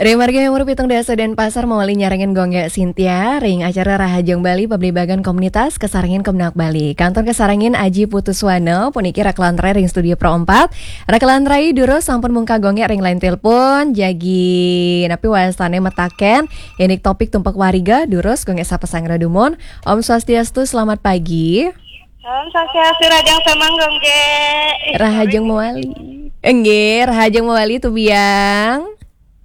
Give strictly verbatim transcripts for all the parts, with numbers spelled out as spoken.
Ring margi nomor pitung dasa Denpasar mawali nyarengin Gung Gek Sintia ring acara Rahajeng Bali, pabligbagan komunitas kasarengin Kemenag Bali. Kantun kasarengin Aji Putu Suwana, puniki rakelan rai ring studio Pro empat. Rakelan rai durus sampun mungkah Gung Gek ring line telepon, jagi napi wastane mataken, indik topik tumpak wariga, durus Gung Gek sapa sanggra dumun. Om Swastiastu, selamat pagi. Om Swastiastu, rahajeng semeng Gung Gek. Rahajeng mawali. Nggih, rahajeng mawali Tubiang.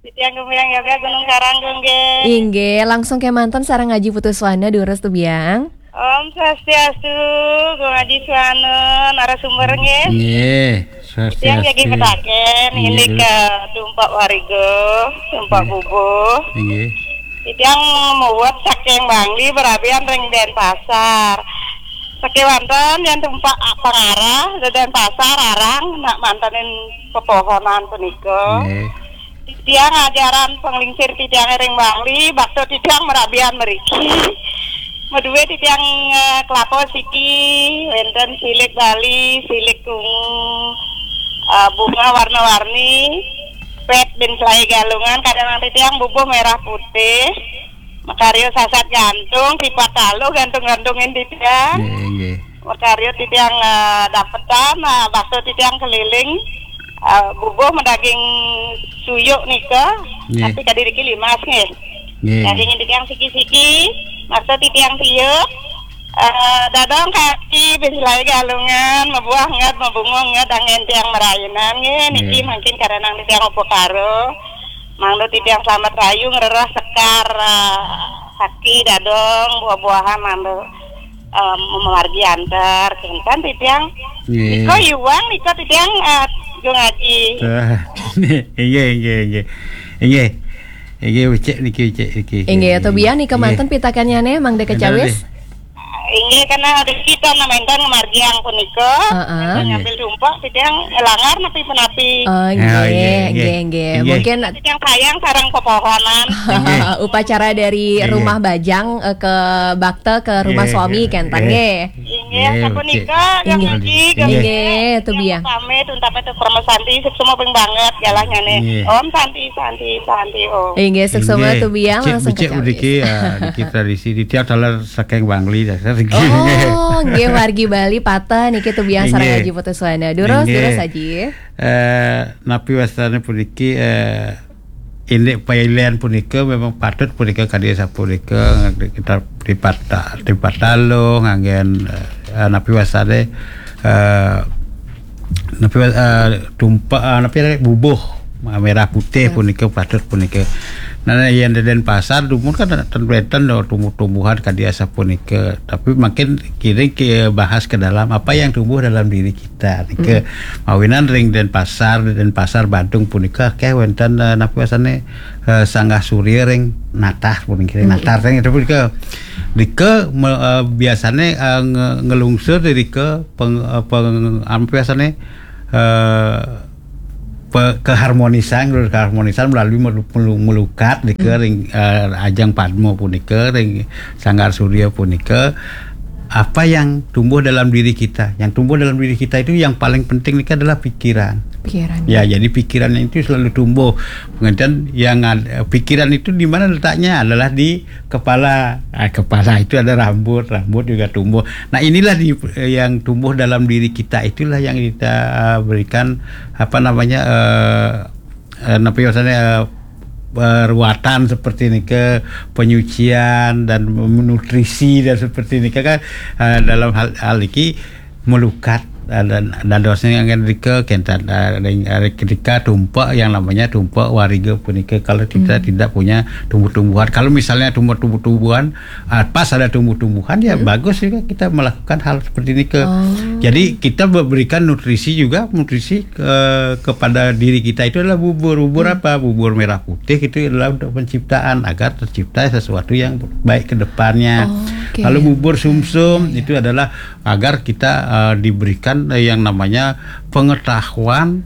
Titiang Gung Biang Yoga Gunung Karang Gung Gek. Inggih, langsung kemanten sareng Aji Putu Suwana, durus Tubiang. Om Swastiastu, Gung Aji Suwana, narasumber nggih. Nggih, Titiang jagi Swastiastu. Mataken, Inggih, indik durus. Tumpak wariga, tumpak Nggih. Bubuh. Inggih. Titiang muwet saking Bangli, marabian ring Denpasar. Sakewanten yen tumpak pangarah, Denpasar, Arang, nak mantenin pepohonan punika. Nggih. Titiang ajaran panglingsir titiang ring Bangli, bakta titiang marabian mriki. Madué titiang, eh, kelapa siki, wénten silik Bali, silik ungu, eh, bunga warna-warni, pét bin selai galungan, kadang titiang bubuh merah putih, makarya sasat gantung, tipat taluh gantung-gantungin titiang. Nggih, nggih. Makarya titiang, eh, dapetan, eh, bakta titiang keliling, eh, bubuh madaging suyuk nika, Nggih. Tapi kadi niki limas nggih. Nggih. Daging titiang siki-siki, bakta titiang tiuk, eh, dadong kaki, bisilai galungan, mabuah nget, mabunga nget, angin tiang marainan nggih, niki Nggih. Mangkin karanang titiang upakara. Mangda titiang selamat rahayu ngrereh sekar, eh, saki, dadong, buah-buahan mangda, eh, mamargi antar, kénten titiang. Nggih. Nika iwang, nika titiang, eh, Gung Aji. Ah, inggih, inggih, inggih. Inggih. Inggih, becik niki, becik niki. Inggih, Tubiang nika Inggih. Manten pitakennyane, mangda Manten kacawis. Deh. Inggih, karena ada kita namaintan ngamargiang punika. Heeh. Ngambil tumpak, titiang langgar napi-napi. Oh, Oh, nggih, iya, nggih, nggih. Nggih. Mungkin titiang sayang sareng pepohonan. Nggih. Upacara dari Iya. Rumah Bajang, eh, ke bakta ke rumah Nggih, suami, iya. Kénten Iya. Nggih. Inggih, Iya, sapunika, oke. Gung Inggih. Aji, Gung Inggih, Aji. Tubiang. Pamit, untape tu Parama Santi, suksma ping banget, galahnyane. Inggih. Om Santi, Santi, Santi, Om. Inggih, suksma Inggih. Tubiang, Becik, langsung becik kacawis. Mriki, ah, niki tradisi titiang taler saking Bangli, dasar niki. Oh, nggih, wargi Bali pateh niki Tubiang sareng Inggih. Aji Putu Suwana. Durus, Inggih. Durus, Aji. Eh, napi wastane puniki, eh, indik pailen punika memang patut punika kadi sapunika, kita tripata-, tripatalo nganggen, eh, napi wastane, eh, napi wa-, eh, tumpak, eh, napi ade bubuh, eh, merah putih Merah. Punika patut punika. Nah, yen di Denpasar dumun kan ten wenten tumbuh-tumbuhan kadi sapunika, tapi makin kini ke bahas ke dalam apa yang tumbuh dalam diri kita. Nika Mm. mawinan ring Denpasar, Denpasar Badung punika akeh wenten, eh, napi wastane, eh, Sanggah Surya ring Natah punika, ring Mm. Natah ring itu punika. Nika me-, eh, biasane, eh, nge-, ngelungsur dari ke peng-, eh, peng-, apa biasane, eh, pe-, keharmonisan, keharmonisan melalui melu-, melu-, melukat nika Hmm. ring, eh, Ajeng Padma punika, ring Sanggar Surya punika, apa yang tumbuh dalam diri kita. Yang tumbuh dalam diri kita itu yang paling penting nika adalah pikiran. Pikiran. Ya, jadi pikiran itu selalu tumbuh. Pengertian yang ad-, pikiran itu di mana letaknya? Adalah di kepala. Ah, kepala itu ada rambut, rambut juga tumbuh. Nah, inilah di, yang tumbuh dalam diri kita, itulah yang kita, eh, berikan, apa namanya, eh, eh, napi wastane, eh, perawatan seperti nika, penyucian dan nutrisi dan seperti nika kan, eh, dalam hal, hal niki melukat, eh, dan, dan dosanya yang nika kenten, eh, ring, eh, ketika tumpak yang namanya tumpak wariga punika kalau kita Hmm. tidak punya tumbuh-tumbuhan. Kalau misalnya tumbuh-tumbuhan, ah, pas ada tumbuh-tumbuhan, ya Hmm. bagus juga kita melakukan hal seperti ini ke. Oh. Jadi kita be-, berikan nutrisi juga, nutrisi ke, kepada diri kita itu adalah bubur. Bubur Hmm. apa? Bubur merah putih itu adalah untuk penciptaan, agar tercipta sesuatu yang baik ke depannya. Oh, oke. Kalau bubur sumsum Ya, ya. itu adalah agar kita, eh, diberikan, eh, yang namanya pengetahuan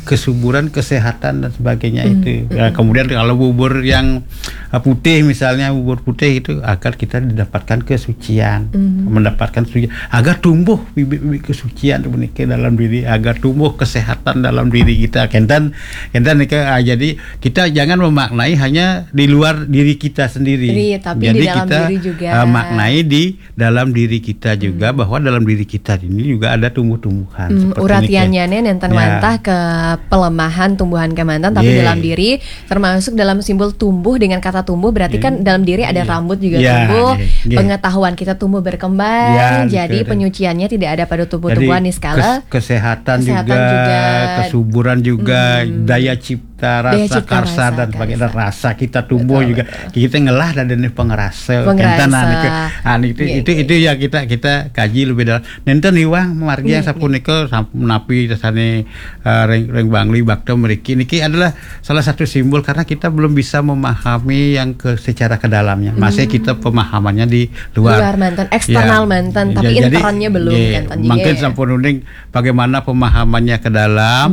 kesuburan, kesehatan dan sebagainya itu. Ya, kemudian kalau bubur yang uh, putih, misalnya bubur putih itu, agar kita didapatkan kesucian, mendapatkan suci, agar tumbuh bibit-bibit kesucian itu ke dalam diri, agar tumbuh kesehatan dalam diri kita. Kenten, kenten nika, ah, jadi kita jangan memaknai hanya di luar diri kita sendiri. Iya, tapi Jadi di dalam kita diri juga. uh, maknai di dalam diri kita juga, bahwa dalam diri kita ini juga ada tumbuh-tumbuhan. Hmm, Seperti uratiannya niki. Nih nenten Ya. Wantah ke pelemahan tumbuhan kemanten, tapi Iya. Dalam diri, termasuk dalam simbol tumbuh, dengan kata tumbuh berarti kan dalam diri ada Iya. Rambut juga Iya, tumbuh, iya, iya. Pengetahuan kita tumbuh berkembang. Iya, Jadi betul. penyuciannya tidak ada pada Jadi tubuh-tubuhan nih skala. kes- kesehatan, Kesehatan juga, juga. Kesuburan juga, daya cipta, Daya rasa cipta, karsa rasa dan sebagainya, karsa. Rasa kita tumbuh Betul, juga. Kita ngelah dan ini pengerasa. Pengerasa. Enten, nah, niku. Ah, itu Iya, itu iya. Itu ya kita kita kaji lebih dalam. Nenten Iwang margi yang Iya, sapunika samp- napi sasane uh, ring ring Bangli Bakta mriki niki adalah salah satu simbol karena kita belum bisa memahami yang ke secara kedalamnya. Masih kita pemahamannya di luar. Luar manten, eksternal Ya. manten, tapi Ya, jadi, internnya belum, ya, kan, tadi mungkin ya. Sampun uning bagaimana pemahamannya ke dalam,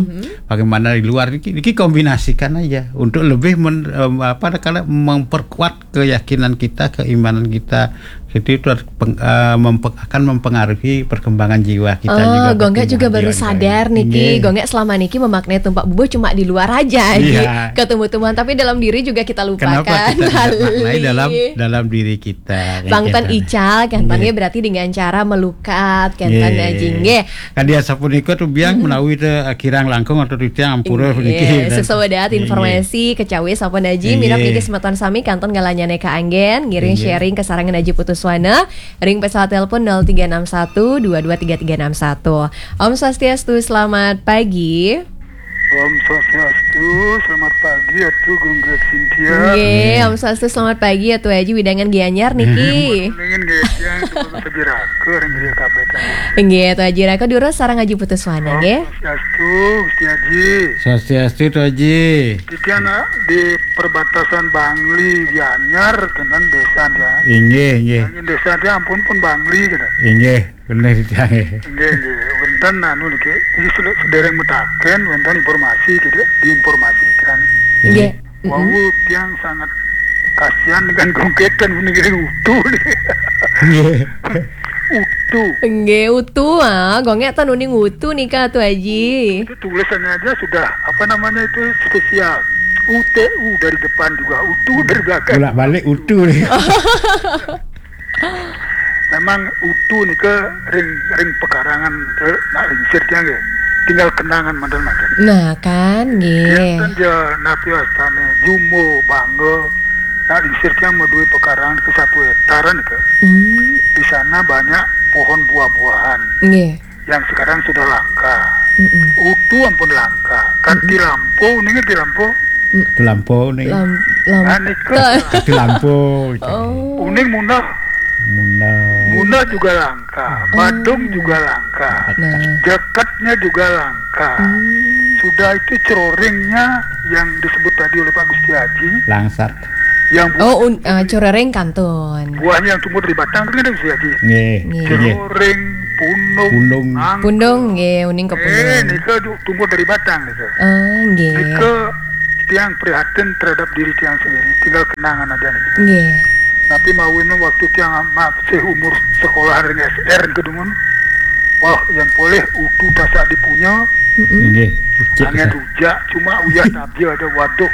bagaimana di luar, niki, niki kombinasikan aja untuk lebih men, em, apa, kalau memperkuat keyakinan kita, keimanan kita. Jadi itu harus peng- eh, mempe- akan mempengaruhi perkembangan jiwa kita Oh, juga. Gonggak juga Pertumbuhan baru jiwa. Sadar niki. Inggih. Gonggak selama niki memaknai tumpak bubuh cuma di luar aja, Iya. Ji. Ke tumbuh-tumbuhan, tapi dalam diri juga kita lupakan. Kenapa kita tidak maknai Balik. Dalam dalam diri kita? Bang Tan Gitu. Ical, kan Inggih. Berarti dengan cara melukat, kan Inggih. Aji, nggih. Kan dia sapunika tuh biang menawi te kirang langkung atau titiang ampura Inggih, puniki. Sukses dahat Inggih. Informasi kecawi sampun Aji, Inggih. Mirip niki semeton sami kantun galanyane kaanggen ngiring Inggih. Sharing kesarengan Aji Putuswana. Ring pesawat telepon nol tiga enam satu dua dua tiga tiga enam satu. Om Swastiastu, selamat pagi. Om Swastiastu, selamat pagi Atu Gunggak Sintia. Nggih, Om Swastiastu, selamat pagi Atu Aji, widangan Gianyar niki. Ingin nggih yang semoga Aji Raka ring griya kabeh. Nggih, Atu Aji Raka durus sareng Aji Putuswana nggih. Swastiastu, Gusti Aji. Swastiastu, Tu Aji. Iki anak di perbatasan Bangli Gianyar kenten desa dia. Inggih, inggih. Ingin desa dia ampun pun Bangli gitu. Inggih, bener titiang. Nggih, nggih. Wenten anu niki. Iki sel- sedereng mutaken wenten informasi gitu, diinformasikan. Nggih. Wau tiang sangat kasihan dengan gonggetan meninggal utuh. Inggih. Utuh. Nggih, utuh ah, gonggak ten uning utuh nika Atu Aji. Itu tulisannya aja sudah apa namanya itu spesial. U T U dari depan juga, utuh dari belakang. Bolak-balik utuh nih. Memang utuh nika ring ring pekarangan eh, nak lingsir dia nggih. Tinggal kenangan manten-manten. Nah, kan nggih. Enten ya napi wastane Jumo, Bangga, nak lingsir dia mau duwe pekarangan ke satu hektaran ke. Hmm. Di sana banyak pohon buah-buahan Nggih. yang sekarang sudah langka. Mm-mm. Utuh ampun langka. Kan di Lampo, nih di Lampo. Itu Lampo nih. Lam, lam. Nah, nika Itu Lampo. Oh. Uning Munah, Munah. Munah juga langka. Badung juga langka. Nah. Jakatnya juga langka. Hmm. Sudah itu ceroringnya yang disebut tadi oleh Pak Gusti Haji, Langsat. yang bu- Oh, un, uh, curering kantun. Buahnya yang tumbuh dari batang kan Gusti Haji. Nggih. Nggih. Nggih. Ceroring, pundung, Pundung. nang. Pundung nggih, uning ke Eh, pundung. nika du- tumbuh dari batang nika. Ah, nggih. Nika tiang prihatin terhadap diri tiang sendiri, tinggal kenangan aja nih. Nggih. Tapi mau ini waktu tiang masih umur sekolah ring S R kedumun. Wah, yang boleh utuh tasak dipunya, Mm-mm. Nggih. Cek. angin rujak, cuma uyah tapi ada, waduh,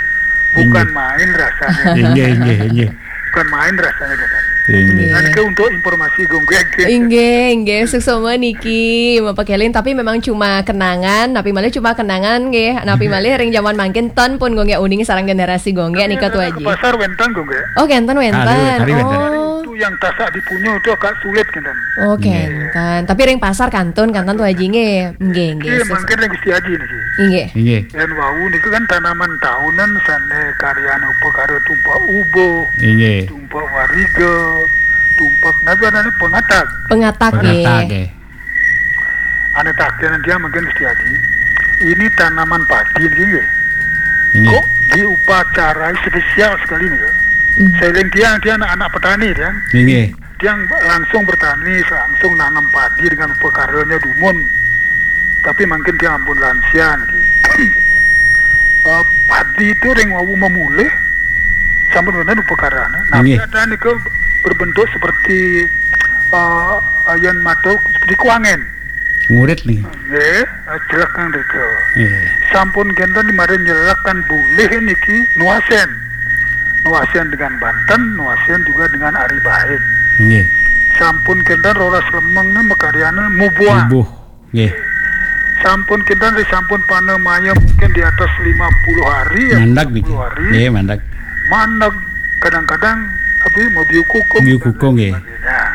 bukan main rasanya. Nggih, nggih, nggih. Bukan main rasanya, kan. Nggih. Nah, niki untuk informasi gonggeng. Inggih, inggih, suksma niki, Bapak Kelin, tapi memang cuma kenangan, napi malih cuma kenangan nggih. Napi malih ring jaman mangkin ten pun gonggek uning sareng generasi gonggek nika Tu Ke Aji. Pasar wenten gonggek. Oh, kenten wenten. Kali, kali wenten. Oh. Itu yang tasak dipunya itu agak sulit, kan. Oh, kenten. Tapi ring pasar kantun, kenten Tu Aji nggih. Nggih, nggih. Iya, Sus- mangkin ring Gusti Haji niki. Inggih. Nggih. Yen wau niku kan tanaman tahunan sane karyane upakara tumpak ubuh, Nggih. tumpak wariga, tumpak nabi anane pengatak. Pengatak Pengatak nggih. nggih. Ane taken dia mungkin Gusti Haji. Ini tanaman padi niki nggih. Nggih. Kok diupacarai spesial sekali nih ya. Hmm. Selain dia, dia anak-anak petani dia. Nggih. Dia langsung bertani, langsung nanam padi dengan upakaranya dumun. Tapi mungkin dia ampun lansia niki. Eh, padi itu ring wau memulih, sampun wénten upakarane. Nah, Nggih. Ada nika berbentuk seperti, eh, yen matur seperti kuangen. Ngurit nih. Nggih, eh, jelek nang rika. Nggih. Sampun kenten di mari nyelek kan bulih niki nuasen. Nuasen dengan banten, nuasen juga dengan ari baik. Nggih. Sampun kenten roras lemeng nih makaryane mubuang. Mubuh. Nggih. Sampun kenten ri sampun panemaya mungkin di atas lima puluh hari ya. Mandeg niki. Lima puluh hari. Nggih, mandeg. Mandeg kadang-kadang tapi mau biu kukuh. Biu kukuh, nggih. Nah,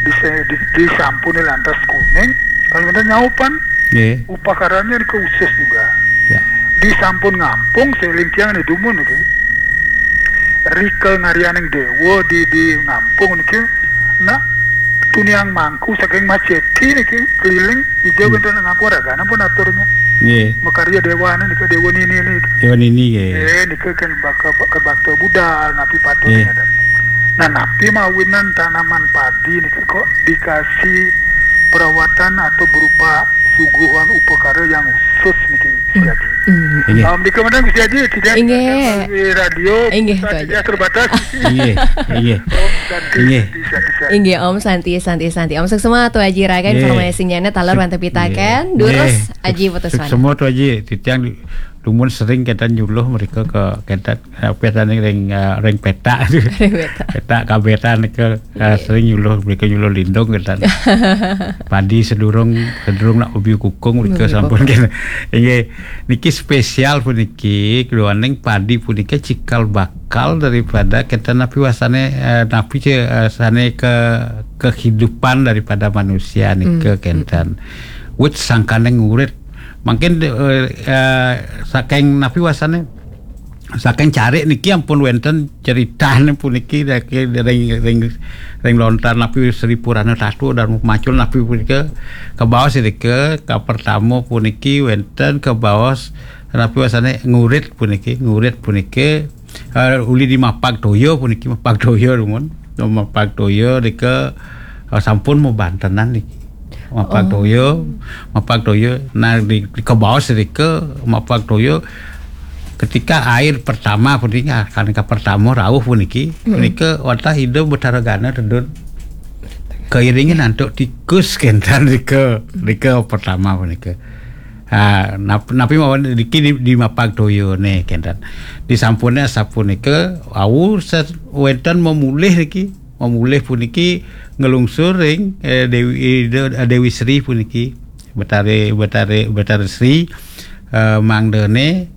di, di, di sampun lantas kuning, kalau kita nyaupan, Nggih. Upakaranya di khusus juga. Ya. Di sampun ngampung seling tiang di dumun niki. Rika ngarianing dewa di, di ngampung niki. Nak tuniang mangku saking Majeti niki keliling ija Hmm. wénten ngampung ragana pun aturnya. Nggih. Makarya dewane nika dewa nini niki. Dewa nini nggih. Eh, nika kan bakal ke bakta budal napi patut Nggih. Ada. Nah, napi mawinan tanaman padi niki kok dikasih perawatan atau berupa suguhan upakara yang khusus niki Gusti Aji. Hmm. Inggih. Um, di kemudian Gusti Aji tidak Inggih. Di radio Inggih, kita Tuan Aji. Tidak terbatas. Inggih, inggih. Om Santi, Inggih. Santi, Santi. Inggih, Om Santi, Santi, Santi. Om suksma Tuan Aji raga Inggih. Informasinya taler wantah pitaken. Inggih. Durus Aji putus Suksma Tuan Aji, titiang di- dumun sering kita nyuluh mereka ke kita apa tadi ring eh, ring petak Ring petak. Petak kabetan ke eh, Iya. Sering nyuluh mereka nyuluh lindung kita padi sedurung sedurung nak ubi kukung mereka sampun kena. Inggih, niki spesial puniki keluaning padi punika cikal bakal daripada kita napi wasane eh, napi ce, eh, sane ke kehidupan daripada manusia nika Hmm. Kenten. Wit sangkane ngurit. Mungkin eh, eh, saking napi wasane saking carik niki ampun wenten ceritane puniki ring ring ring lontar napi Sri Purana Tatu dan macul napi punika kebaos nika ka pertama puniki wenten kebaos napi wasane ngurit puniki ngurit puniki eh, uli di mapag toyo puniki mapag toyo rumun mapag toyo nika eh, sampun mabantenan niki mapag Oh. Toyo mapag toyo nah di, di kebaos nika mapag toyo ketika air pertama puniki kan ka pertama rauh puniki Mm-mm. Punika wantah ida Betara Gana tedun keiringi nantuk tikus kenten nika nika pertama punika. Ha, nap, napi mawon niki di, di mapag toyo ne kenten. Disampune sapunika wau wenten memulih niki memulih puniki ngelungsur ring eh, Dewi eh, Dewi Sri puniki Betari Betari Betari Sri eh, mangdane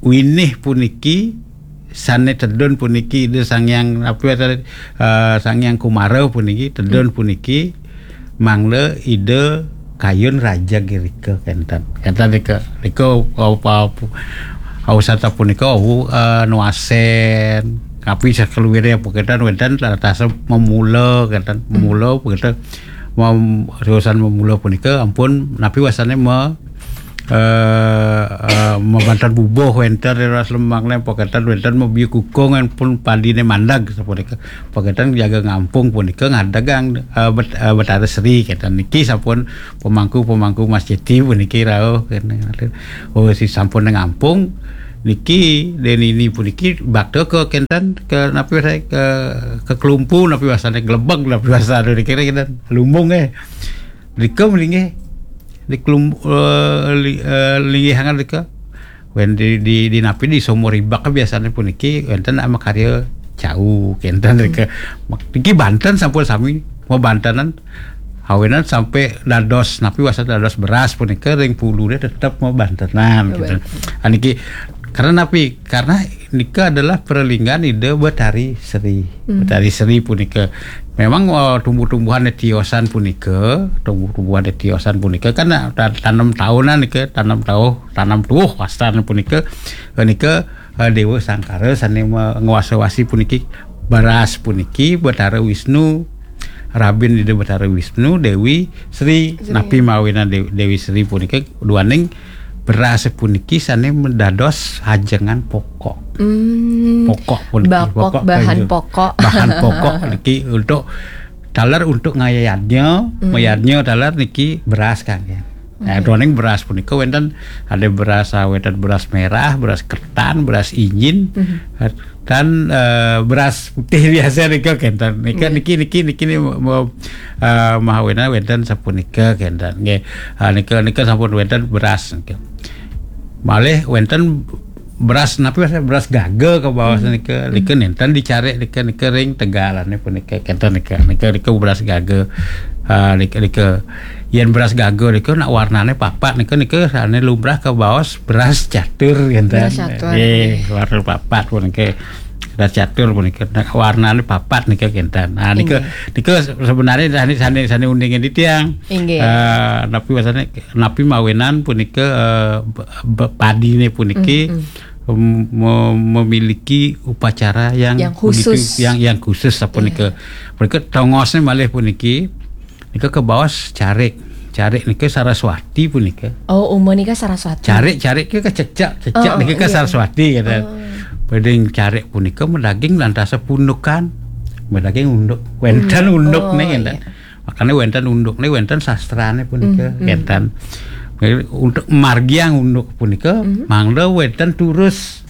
winih puniki sane tedun puniki Ida Sang Hyang apa uh, Sang Hyang Kumara puniki tedun puniki mangda Ida Kayun Raja Girika kenten kenten rika rika apa ausata punika uh, nuasen tapi sakeluwire apa kenten wenten tasa memula kenten memula apa kenten mem, urusan memula punika ampun napi wasane me, eh, eh, mabanten bubuh wenten ras lemang ne poketan wenten mebiu kukung pun padine mandag sapunika poketan jaga ngampung punika ngadegang eh, bet, eh, Betara Sri kenten niki sampun pemangku pemangku Mas Jeti puniki rauh kenten. Oh si sampun ngampung niki denini puniki bakta ke kenten ke napi ke ke kelumpu napi wasane gelebeg napi wasane kira kenten lumbung eh Rika mlinggih di kelum, uh, li, uh, linggih hangat rika. Wen di, di, di napi di sumur ribak biasanya puniki wenten ama karya cau kenten rika. Niki banten sampun sami mau bantenan awinan sampai dados napi wasa dados beras punika ring pulune tetep mau bantenan gitu. Aniki karena napi karena nika adalah perlinggan ide Betari Sri. Hmm. Betari Sri punika memang uh, tumbuh-tumbuhan tiosan punika, tumbuh-tumbuhan tiosan punika kan uh, tanem tahunan nika, tanem tahu, tanem tuh wastan punika, uh, nika uh, Dewa Sangkara sane nguasa-wasi puniki beras puniki Betara Wisnu Rabin Ida Betara Wisnu Dewi Sri, Sri. Napi mawina Dewi, Dewi Sri punika duaning beras puniki sane mendados hajengan pokok. Hmm, pokok puniki bapok pokok bahan kayu. Pokok bahan pokok niki untuk taler untuk ngayadnya hmm. Mayadnya taler niki beras kan ya. Nah, doning beras punika wenten, ada beras, ah, wenten beras merah, beras ketan, beras injin, dan, eh, beras putih biasa nika kenten. Nika niki niki niki ni mau, eh, mahawinan wenten sapunika kenten. Nggih. Ah, nika nika sampun wenten beras nika. Malih wenten beras napi, beras gaga kabaos nika, nika nenten dicarik nika, nika ring tegalane punika kenten nika. Nika nika beras gaga. Ah, nika nika yen beras gaga nika nak warnane papat nika, nika sane lumrah kabaos beras catur kenten. Beras catur. Nggih, warna papat punika. Beras catur punika nak warnane papat nika kenten. Nah, nika nika sebenarnya sane sane sane uninge titiang. Inggih. Eh, napi wasane napi mawinan punika, eh, be- be- padine puniki mem- mem- memiliki upacara yang Yang begitu khusus. yang yang khusus sapunika. Punika tongosne malih puniki nika kabaos carik. Carik nika Saraswati punika. Oh, umur nika Saraswati. Carik-carik ke cecak, cecak Oh, nika ke iya. Saraswati kata. Beding carik punika medaging lantas pundukan. Medaging unduk. Wenten unduk Oh, nih kenten. Iya. Makanya wenten unduk nih, wenten sastrane punika kenten. Untuk margiang unduk punika mangda wenten turus.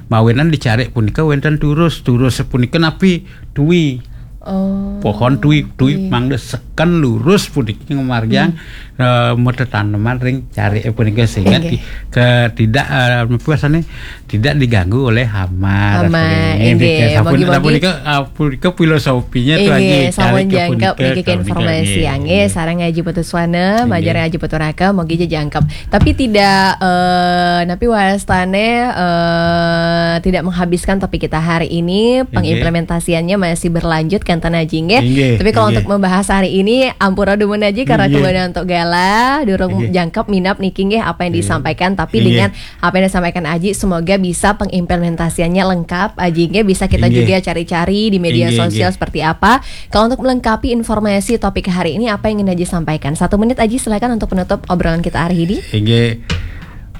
Mawinan dicarik punika wenten turus. Turus punika napi? Tui. Oh. Pohon tui, tui mangda seken lurus puniki ngamargiang, eh, matetaneman ring carik punika sehingga Inggih. ti- ke tidak, eh, apa rasanya, tidak diganggu oleh hama. Hama, Rasanya inggih. Sampun- Mugi-mugi sapunika, ah, punika filosofinya tuh Inggih, Haji, sampun carik jangkep punika, niki ke sampun informasi nggih. Nggih, sareng Haji Putuswana, Inggih. Majar Haji Puturaka, mugi aja jangkep. Tapi tidak, eh, napi wastane, eh, tidak menghabiskan topik kita hari ini, Inggih. Pengimplementasiannya masih berlanjut kenten Haji nggih. Inggih, Tapi kalau inggih. Untuk membahas hari ini, ampura dumun Haji karena Inggih. Kebetulan untuk gala, durung Inggih. Jangkep minap niki nggih apa yang Inggih. Disampaikan, tapi Inggih. Dengan apa yang disampaikan Haji, semoga bisa pengimplementasiannya lengkap Haji nggih, bisa kita Inggih. Juga cari-cari di media Inggih, sosial inggih. Seperti apa. Kalau untuk melengkapi informasi topik hari ini, apa yang ingin Haji sampaikan? Satu menit Haji, silakan untuk penutup obrolan kita hari ini. Inggih.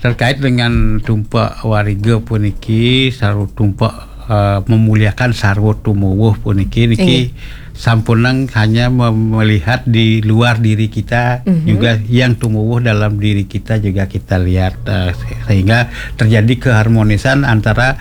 Terkait dengan tumpak wariga puniki, sarwa tumpak, eh, memuliakan sarwa tumuwuh puniki niki Inggih. Sampunang hanya mem- melihat di luar diri kita, Mhm. Juga yang tumuwuh dalam diri kita juga kita lihat, eh, sehingga terjadi keharmonisan antara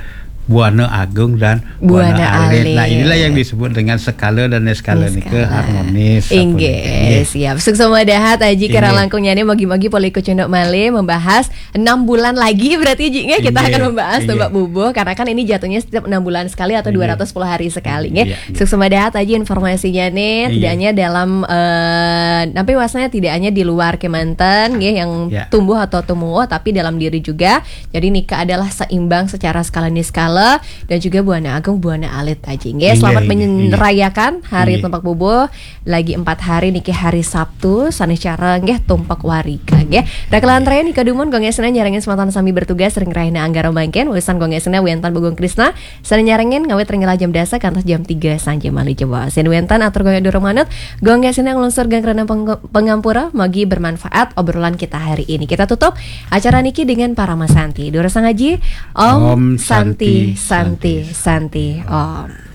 Buana Agung dan Buana Buana Alit. Alit. Nah, inilah yang disebut dengan skala dan eskala nika harmonis. Inggih, siap. Suksma dahat Haji kira langkungnya nih, mugi-mugi polih kucunduk malih membahas enam bulan lagi berarti Haji nggih, kita Inggih, akan membahas inggih. Tumbak bubuh karena kan ini jatuhnya setiap enam bulan sekali atau Inggih. Dua ratus sepuluh hari sekali nggih. Iya, iya. Suksma dahat Haji informasinya nih, Inggih. Tidak hanya dalam, eh, napi wastane tidak hanya di luar kemanten nggih yang Ya. Tumbuh atau tumuwuh, tapi dalam diri juga. Jadi nika adalah seimbang secara skala niskala dan juga Buana Agung Buana Alit Haji nggih. Inggih, selamat inggih, inggih. Merayakan hari Inggih. Tumbak bubuh. Lagi empat hari niki hari Sabtu, sanes cara nggih tumpek wariga nggih. Rakelan raya nika dumun gong esena nyarengin sematan sami bertugas ring rahina anggara mangkin, wisan gong esena wenten Bagong Krisna, sanes nyarengin ngawit ring jam dasa kantos jam tiga sanja malih jebos. Yen wenten atur gong durung manut, gong esena nglungsur geng rena peng- pengampura, mugi bermanfaat obrolan kita hari ini. Kita tutup acara niki dengan Parama Santi. Durusang Haji, Om Om Santi, Santi, Santi, Santi, Santi. Om.